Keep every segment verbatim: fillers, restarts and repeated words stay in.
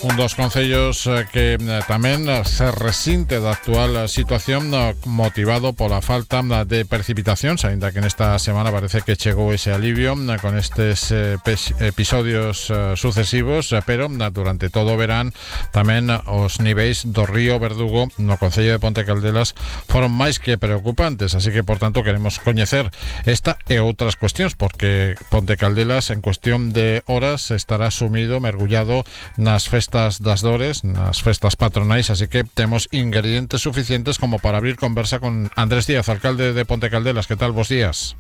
Un dos concellos eh, que eh, tamén se resinte da actual situación eh, motivado pola falta eh, de precipitacións, aínda que nesta semana parece que chegou ese alivio eh, con estes eh, episodios eh, sucesivos, eh, pero eh, durante todo o verán tamén eh, os niveis do río Verdugo no concello de Ponte Caldelas foron máis que preocupantes, así que por tanto queremos coñecer esta e outras cuestións, porque Ponte Caldelas en cuestión de horas estará sumido, mergullado nas festas das Dores, nas festas patronais, así que temos ingredientes suficientes como para abrir conversa con Andrés Díaz, alcalde de Ponte Caldelas. Que tal? Bos días.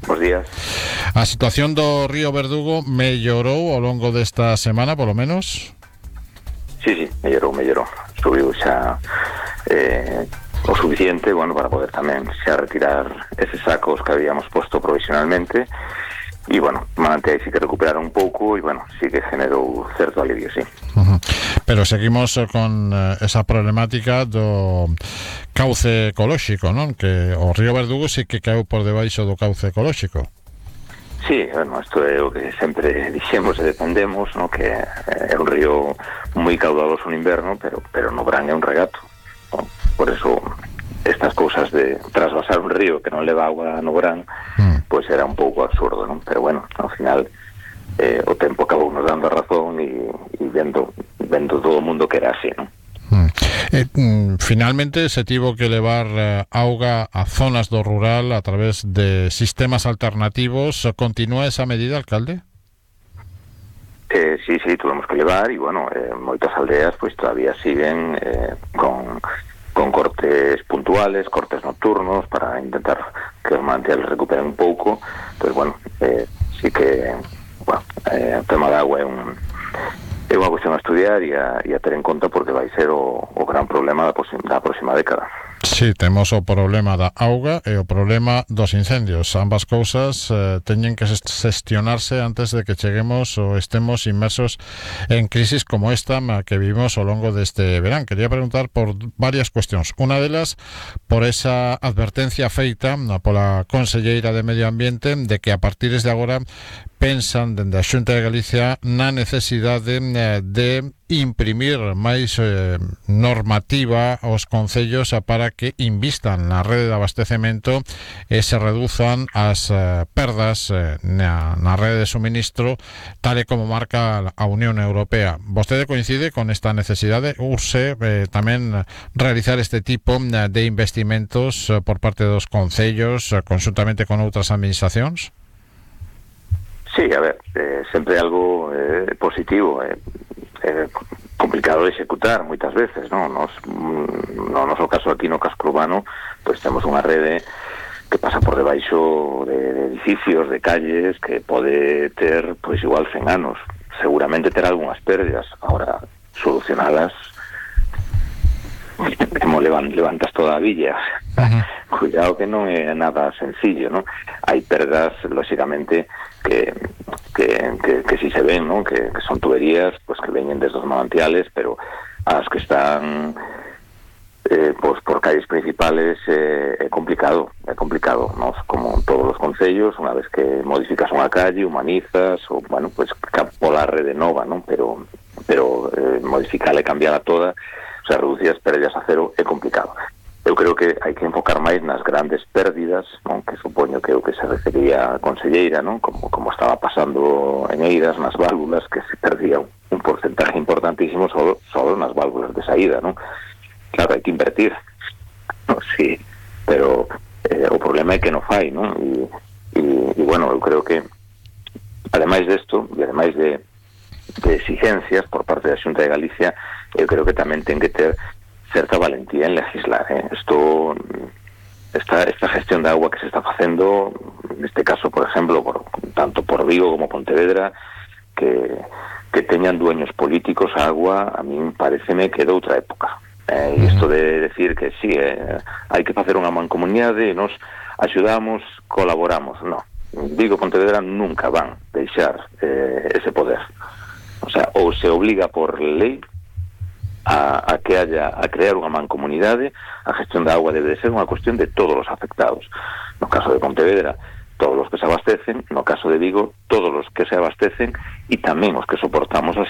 Bos días. A situación do río Verdugo mellorou ao longo desta semana, polo menos? Sí, sí, mellorou, mellorou. Subiu xa eh, o suficiente, bueno, para poder tamén xa retirar eses sacos que habíamos posto provisionalmente. E, bueno, manante sí que recuperaron un pouco e, bueno, sí que generou certo alivio, sí. Uh-huh. Pero seguimos con uh, esa problemática do cauce ecolóxico, non? Que o río Verdugo sí que caeu por debaixo do cauce ecolóxico. Sí, bueno, isto é o que sempre dixemos e defendemos, no? Que é un río moi caudaloso no inverno, pero, pero no verán é un regato, no? Por eso estas cousas de trasvasar un río que non leva agua no verán, mm. pois era un pouco absurdo, non? Pero bueno, ao final eh, o tempo acabou nos dando a razón e, e vendo, vendo todo o mundo que era así, non? Mm. Eh, mm, finalmente se tivo que levar eh, auga a zonas do rural a través de sistemas alternativos. Continúa esa medida, alcalde? Eh, sí, sí, tuvemos que levar e, bueno, eh, moitas aldeas pois todavía siguen eh, con... con cortes puntuales, cortes nocturnos, para intentar que os manantiales recuperen un pouco. Pues bueno, eh, sí que, bueno, eh, o tema da agua é un é unha cuestión a estudiar e a, e a ter en conta, porque vai ser o, o gran problema da, da próxima década. Sí, temos o problema da auga e o problema dos incendios. Ambas cousas eh, teñen que xestionarse antes de que cheguemos ou estemos inmersos en crisis como esta que vivimos ao longo deste verán. Quería preguntar por varias cuestións. Unha delas, por esa advertencia feita pola conselleira de Medio Ambiente de que a partir de agora pensan dende a Xunta de Galicia na necesidade de imprimir máis eh, normativa aos concellos para que invistan na rede de abastecemento e se reduzan as eh, perdas eh, na, na rede de suministro, tal e como marca a Unión Europea. Vostede coincide con esta necesidade? Urse eh, tamén realizar este tipo de investimentos eh, por parte dos concellos eh, conjuntamente con outras administracións? Sí, a ver, eh, sempre algo eh, positivo, eh, eh, complicado de executar moitas veces, non? Nos, no noso caso aquí no casco urbano, pois temos unha rede que pasa por debaixo de, de edificios, de calles, que pode ter, pois igual cen anos, seguramente ter algunhas pérdidas. Ahora, solucionalas, como levantas toda a villa. Uh-huh. Cuidado que non é nada sencillo, non? Hai perdas, lóxicamente, que que, que, que si se ven, ¿no? Que, que son tuberías pues que veñen desde os manantiales, pero as que están eh, pues por calles principales eh, é complicado, é complicado, ¿no? Como todos os concellos, unha vez que modificas unha calle, humanizas, ou, bueno, pues pola rede nova, ¿no? Pero, pero eh, modificarla e cambiarla toda, o sea, reducir as pérdidas a cero é complicado. Eu creo que hai que enfocar máis nas grandes pérdidas, non? Que supoño que é o que se refería a conselleira, non? Como, como estaba pasando en Eiras, nas válvulas, que se perdía un, un porcentaje importantísimo solo, solo nas válvulas de saída, non? Claro, hai que invertir, no, sí, pero eh, o problema é que non fai, non? E, e, e bueno, eu creo que ademais desto, e ademais de, de exigencias por parte da Xunta de Galicia, eu creo que tamén ten que ter certa valentía en legislar, ¿eh? Esto, esta, esta gestión de agua que se está facendo, en este caso, por ejemplo, por, tanto por Vigo como Pontevedra, que, que teñan dueños políticos a agua, a mí pareceme que é de outra época. Eh, e isto de decir que sí, eh, hai que facer unha mancomunidade e nos axudamos, colaboramos, no. Vigo e Pontevedra nunca van deixar eh, ese poder. O sea, ou se obliga por lei A, a que haya, a crear unha mancomunidade. A gestión da agua debe de ser unha cuestión de todos os afectados. No caso de Pontevedra, todos os que se abastecen, no caso de Vigo, todos os que se abastecen e tamén os que soportamos as